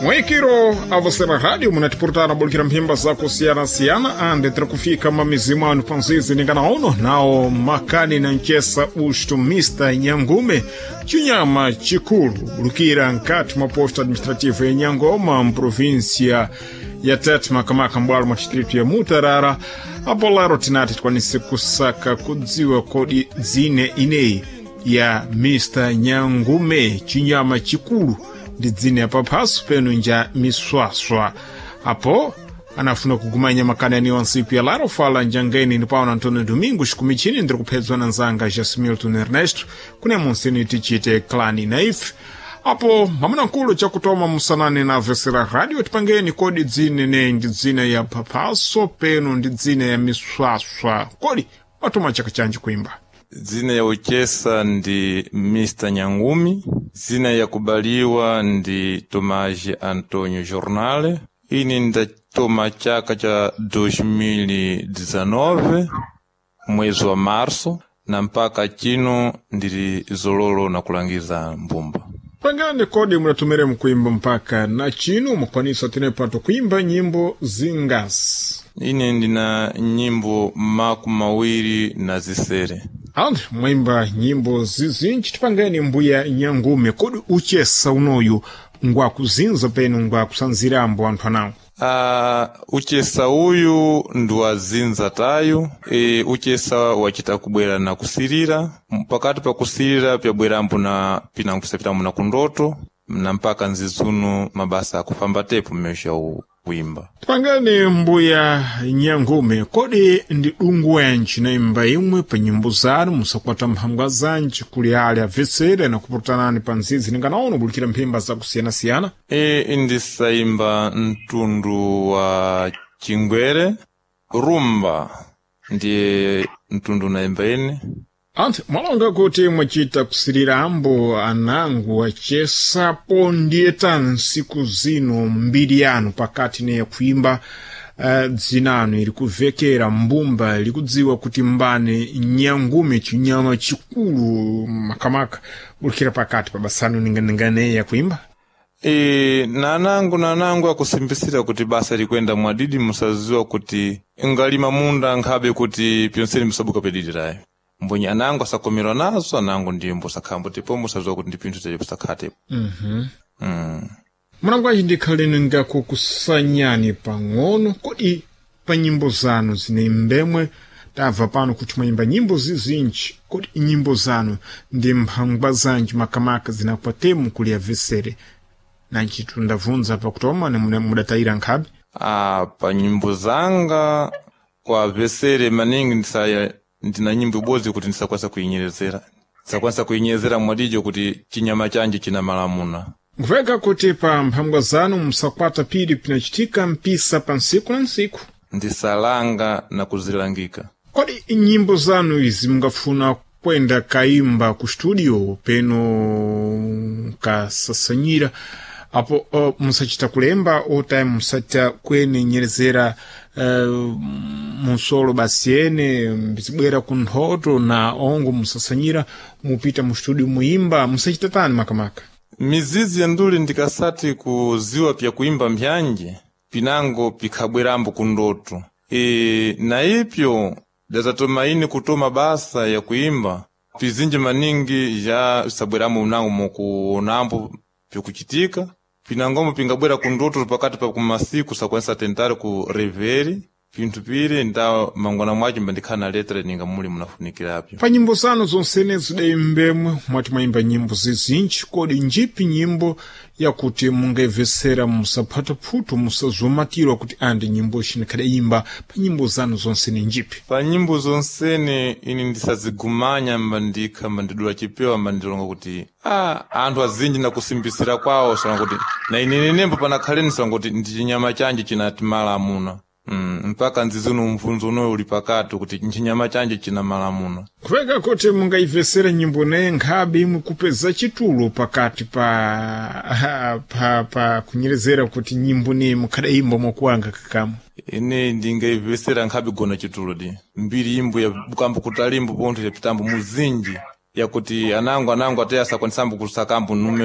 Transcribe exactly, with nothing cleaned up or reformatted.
Mwikiro avosera rádio munatipurutana bulikira mphimba zakusiyana-siyana ande tiri kufika mamizimu anu panzizi ningana uno nawo makani na ncesa usto Mister Nyangume, chinyama chikulu bulukira nkati mwa posto administrativo ya Nyangoma mprovinsia ya Tete, makamaka mbwalo mwa distritu ya Mutarara. Apo lero tinati tikwanise kusaka kudziwa kodi dzine ineyi ya Mister Nyangume, chinyama chikulu, ndi dzine ya paphaso penu nja miswaswa. Apo anafuna kugumanya makani aniwa nsiku ya laro fala njangeni ni paona Antônio Domingos kumichini ndiri kuphedzwa na nzanga Jasmilton Ernesto kune munsini tichite klani naif. Apo mwamuna nkulu chakutoma musanani na vesera radio, tipangeni kodi dzine ne ndi dzine ya paphaso penu ndi dzine ya miswaswa, kodi watoma chaka chanji kuimba? Dzina ya uchesa ndi Mister Nyangumi, dzina ya kubaliwa ndi Tomás Antonio Jornale. Ini ndatoma chaka cha dois mil e dezenove mwezi wa março, na mpaka chino ndili zololo na kulangiza mbumba. Pangani kodi munatumire mkuimba mpaka na chino mukwanisa tinepato kuimba nyimbo zingasi? Ine ndina nyimbo makumi mawiri na zisere. Andi mwaimba nyimbo zizinji. Tipangeni mbuya Nyangume, kodi uchesa unoyu ngwakuzinza penu ngwakusanzirambo anthu anawo? Uh, uchesa uyu ndi wazinza tayo. E, uchesa wachita kubwera na kusirira, pakati pa kusirira pyabwerambo na pinango na kundoto na mpaka nzizuno mabasa akufamba tepo mmesha kuimba. Tipangani mbuya Nyangume, kodi ndi dungu wanji naimba imwe pa nyimbo zanu musakwata mphangwa zanji kuli ali abvetsere na kupurutanani pa nzizi ninganaona bulikira mphimba zakusiyana-siyana? E, ndisayimba mtundu wa chingwere, rumba ndiye mtundu naimba ine. Anthu mwalonga kuti mwachita kusirirambo anangu achesapo, ndiye tani nsiku zino mbiri yanu pakati neye kuimba, uh, dzinanu ili kuvekera mbumba ili kudziwa kuti mbane Nyangume chinyama chikulu makamaka bulikira pakati pa basanu ninganinganeya yakuimba? E, nanangu nanangu akusimbisira kuti basa likwenda mwadidi, musaziwa kuti ngalima munda nkhabe kuti pyonseni musabuka pedidi tayo mbonye anangu asakomerwa nazo, anangu ndiye mbosakhambo tepo musaziwa kuti ndi pinthu tepo sakhatepo. mm-hmm. mm. Munangwaji ndikhaleni ngakukusanyani pang'ono, kodi pa nyimbo zanu zine mbemwe tabva pano kuti mwayimba nyimbo zizinji, kodi nyimbo zanu ndi mphangwa zanji makamaka zinakwatemu kuli abvesere nanchitu ndavunza pakutoma ne mudatayira nkhabe? Ah, pa nyimbo zanga kwa vesere maningi ndisaya ndina nyimbo ibodzi kuti ndisakwanisa kuyinyerezera, ndisakwanisa kuyinyerezera mwadijo kuti chinyama chanje china malamuna. Nkuveka kuti pa mphangwa zanu musakwata pili pinachitika mpisa pa nsiku na nsiku. Ndisalanga na kuzilangika. Kodi nyimbo zanu izi mungafuna kwenda kaimba ku studio peno kasasanyira apo uh, musachita kulemba otime musachita kuenenyerezera uh, musolo basi ene mbizibwera ku nthoto na ongo musasanyira mupita mu studio muimba musachita tani makamaka? Mizizi ya nduli ndikasati kuziwa pya kuimba mphyanji pinango pikhabwerambo kundoto. E, na ipyo datatomaini kutoma basa ya kuimba pizinji maningi ya sabweramo mnango mukuonambo pikuchitika pinangomo pingabwera kundoto pakati pa kumasiku sakwanisa tentare ku reveri pinthu pili nda mangwana mwacho mbandikhala na letra ninga muli munafunikirapyo. Pa nyimbo zanu zonsene zidaimbemwe mwati mwayimba nyimbo zizinji, kodi njipi nyimbo yakuti mungaibvesera musaphata phutu musazomatirwa kuti andi nyimbo ixinikhadayimba pa nyimbo zanu zonsene njipi? Pa nyimbo zonsene ini ndisazigumanya mbandikha mbandidula chipewa mbandilonga kuti ah, anthu azinji nakusimbisira kwawo salonga kuti na ine nembo panakhaleni salonga kuti ndi chinyama chanje chinati amuna. Mm, mpaka nzizino mvunzo unoyo uli pakati kuti nchinyama chanje china malamuno. Kupeka kuti mungaibvesera nyimbo naye nkhabe imwe kupeza chitulo pakati pa pa, pa kunyerezera kuti nyimbo neye mukhadayimba mwakuwanga kakamwe? Ine ndingaibvesera nkhabe gona chitulo di mbiri imbo ya bukambo kutalimbo pontho yapitambo muzinji yakuti anango anango ate asakwanisambo kusakambo numero.